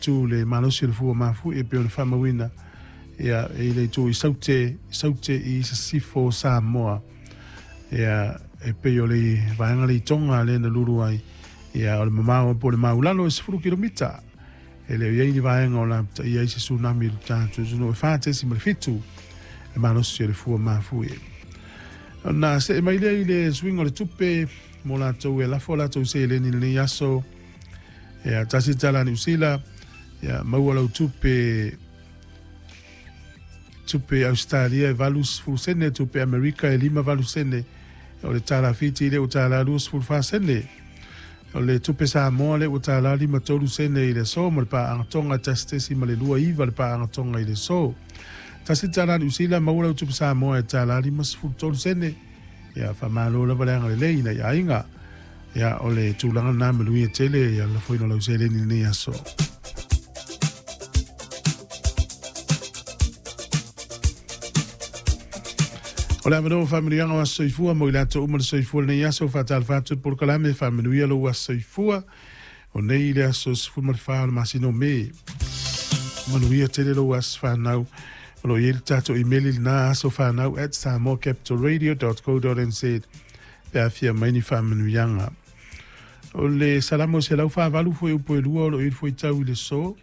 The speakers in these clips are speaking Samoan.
7 le malosi o le fua mafuie e pei ona faamauina ia i le itu i Saute, Saute i Sisifo Samoa. Ia e pei o le vaega le i Tonga lea na lulu ai. Ia o le mamao po o le maulalo e 10 kilomita. E le o i ai ni vaega o lapataia ai se tsunami i le tatou atunuu e 4.7 le malosi o le fua mafuie. Ona see mai lea i le suiga o le tupe mo latou e lafo latou seleni i lenei aso. Ia, $1 Niu Sila, ia, maua lau tupe tupe Ausetalia e 80 sene, tupe Amerika e 58 sene, o le tala Fiti lea ua tala 24 sene. O le tupe Samoa lea ua tala 53 sene i le aso ma le paaga Tonga 1.29 le paaga Tonga i le aso. $1 Niu Sila maua lau tupe Samoa e tala 53 sene. Ia, faamalo lava le agalelei i nai aiga. Ia, o le tulaga lena manuia tele ia lafoina o lau seleni i lenei aso. O le avanoa o faamanuiaga o aso soifua mo i latou uma le soifua i lenei aso, faatalofa atu i le polokalame Faamanuia lou aso soifua. O nei i le aso 14 o le masina o Me. Manuia tele lou aso fanau. O lo o i ai le tatou imeli lena asofanau@samoacapitalradio.co.nz pe a fia mai ni faamanuiaga. O le Salamo 148 foi upu e lua o lo o i ai le fuaitau i le so.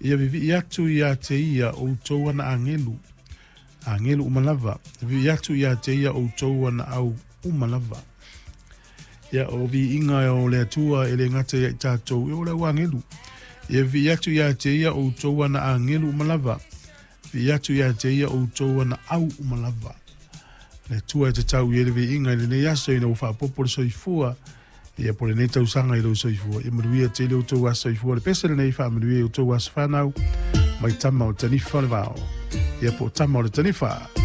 Ia vivii atu ia te ia outou ana agelu. Agelu uma lava. Vivii atu ia te ia outou ana au uma lava. Ia, o viiga o le Atua e le gata ia i tatou, e o le au agelu. Ia vivii atu ia te ia outou ana agelu uma lava. Vivii atu ia te ia outou ana au uma lava. Le Atua e tatau i ai le viiga i lenei aso ina ua faaopoopo le soifua, ia po o lenei tausaga i lou soifua. Ia manuia tele outou aso soifua. Le pese lenei faamanuia i outou aso fanau mai tama o Tanifa o le Vao. Ia po o tama o le Tanifa.